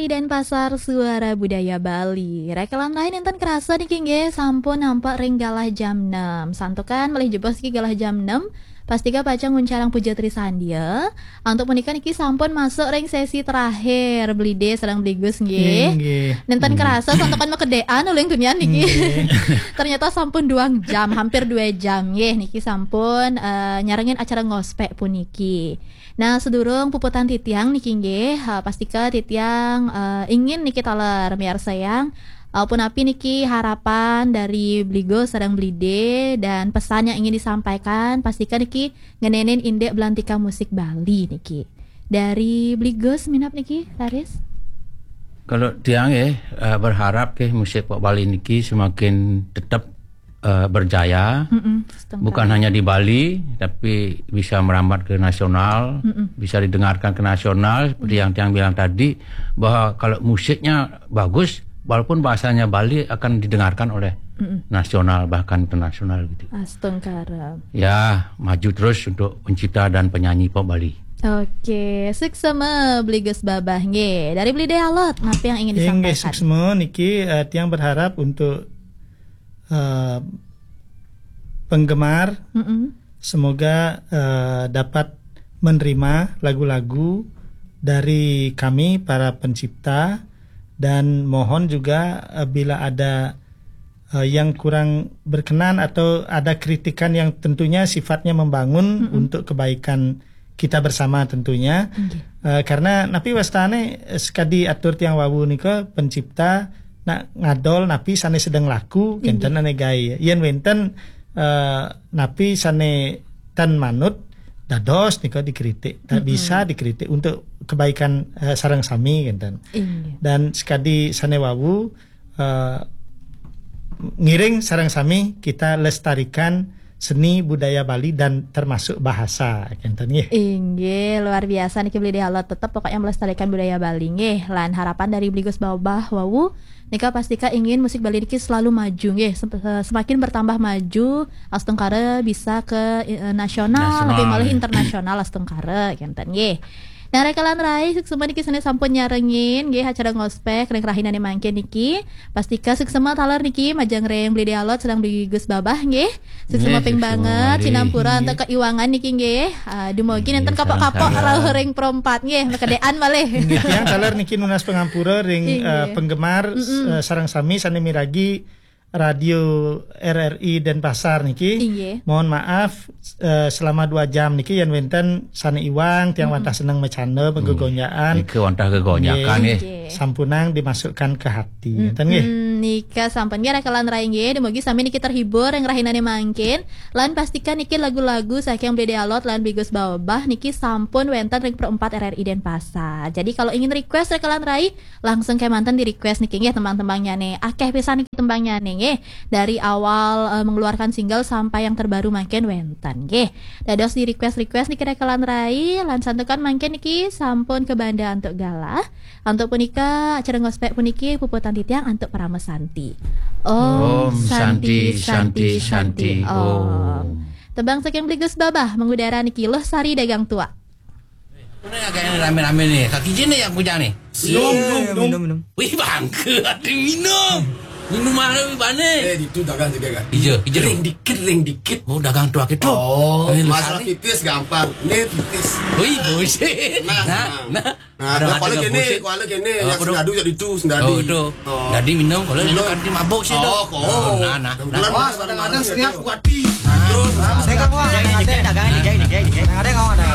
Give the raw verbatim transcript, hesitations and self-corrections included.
Denpasar, Suara Budaya Bali. Rekelan lain enten kerasa niki nggih, sampun nampak ring galah jam enam. Santukan malih jebos niki galah jam enam. Pastika pacang nguncarang Puja Trisandia. Antuk punika niki sampun masuk ring sesi terakhir, Bli Dé sareng Bli Gus nggih. Nggih. Nenten kerasa santukan makedéan uling tunian niki. Nggih. Ternyata sampun duang jam, hampir dua jam nggih niki sampun, eh, nyarengin acara ngospek puniki. Nah, sedurung puputang titiang niki nggih, eh, pastika titiang, eh, ingin niki taler miarsayang, eh, punapi niki harapan dari Bli Gus sareng Bli Dé dan pesan yang ingin disampaikan, pastika niki ngenénin indik belantika musik Bali niki. Dari Bli Gus minab niki, Laris? Kalau tiang ya, eh, berharap ke musik pop Bali niki semakin tetap, eh, berjaya. Mm-mm, setengkal. Bukan hanya di Bali, tapi bisa merambat ke nasional, Mm-mm. bisa didengarkan ke nasional, seperti Mm. yang tiang bilang tadi, bahwa kalau musiknya bagus, walaupun bahasanya Bali akan didengarkan oleh Mm-mm. nasional bahkan internasional gitu. Astungkara. Ya, maju terus untuk pencipta dan penyanyi pop Bali. Oke, suksma Bli Gus Babah nggih. Dari Bli Dé Alot, napi yang ingin Inggih, disampaikan? Suksma niki, eh, tiang berharap untuk, eh, penggemar, Mm-mm. semoga, eh, dapat menerima lagu-lagu dari kami para pencipta, dan mohon juga, eh, bila ada, eh, yang kurang berkenan atau ada kritikan yang tentunya sifatnya membangun Mm-mm. untuk kebaikan kita bersama tentunya. Nggih. Eh, karena napi wastane, eh, sekadi atur tiang wau nika, pencipta nak ngadol napi sane sedeng laku, Nggih. kenten ane gae. Yen wenten, eh, napi sane tan manut, dados nika dikritik. Tak Mm-mm. bisa dikritik untuk kebaikan, eh, sareng sami, kenten. Inggih. Dan sekadi sane wau, eh, ngiring sareng sami kita lestarikan seni budaya Bali dan termasuk bahasa, kenten nggih. Inggih, luar biasa niki Bli Dé Alot, tetep pokoknya melestarikan budaya Bali nggih. Lan harapan dari Bli Gus Babah wau nika pastika ingin musik Bali niki selalu maju nggih, sem-, eh, semakin bertambah maju, astungkara bisa ke, eh, nasional, Nasional, lebih malih ya. internasional astungkara, kenten nggih. Nah, rekelan rai, suksma niki sane sampun nyarengin nggih acara ngospek ring rahinane mangkin niki. Pastika suksma taler niki majeng ring Bli Dé Alot sareng Bli Gus Babah nggih. Suksma Nggih, ping suksma banget, malih. Sinampura Nggih. antuk keiwangan niki nggih. Ah, dumugi Nggih, nenten kapok-kapok sareng-sareng. rauh ring perempat nggih, makedean malih. Nggih, tiang taler niki nunas pangampura ring, Inggih. eh, penggemar, Mm-mm. eh, sareng sami sane miragi Radio R R I Denpasar niki. Inggih. Mohon maaf, eh, selama dua jam niki yen wenten sane iwang, tiang Mm-mm. wantah seneng macanda, Mm. penggegonjakan. Nika wantah gegonjakan, Nggih. nggih. Sampunang dimasukkan ke hati. Mm-mm. Ngeten nggih. Nika sampun nggih rekelan rai nggih. Dumugi sami niki terhibur ring rahinane mangkin. Lan pastikan niki lagu-lagu saking Bli Dé Alot lan Bli Gus Babah niki sampun wenten ring Pro empat R R I Denpasar. Jadi kalau ingin request rekelan rai, langsung kemanten di request niki nggih tembang-tembangnyane. Akeh pisan niki tembangnyane nggih. Dari awal, eh, mengeluarkan single sampai yang terbaru mangkin wenten nggih. Dados di request-request niki rekelan rai, lan santukan mangkin niki sampun kabanda antuk galah. Antuk punika acara ngospek puniki puputang titiang antuk parama santi. Om Om Santi, Santi, Santi, Santi, Santi, Santi, Om. Om. Tembang saking Bli Gus Babah mengudara niki Luh Sari Dagang Tuak. Ini agak ini rame-rame nih. Kaki jin nih yang punya nih. Minum, minum, minum. Minum, minum. Wih, bangke, ada minum. Minum mana wih bane? Eh, itu dagang juga kan? Iya, iya. Ring dikit, ring dikit. Oh, dagang tuak itu. Oh, ini masalah Luh Sari. Pipis gampang. Ini pipis. Wih, buset. Nah, Nah, nah. nah. Nah, Ada kalau hati kene, buset. Kalau kene, Oh, yang betul. Sendadu jadi itu, sendadu. Oh, itu. Oh. Jadi minum, kalau itu Minum. Kan dia mabuk sih itu. Oh, kok. Oh, nah, nah. Kebetulan Wah, saya kadang-kadang baru setiap itu. Kuati. Nah, terus. Saya kan, wah, Dikit, ada. Dikit, dikit, dikit, dikit. Kadang-kadang, oh, ada.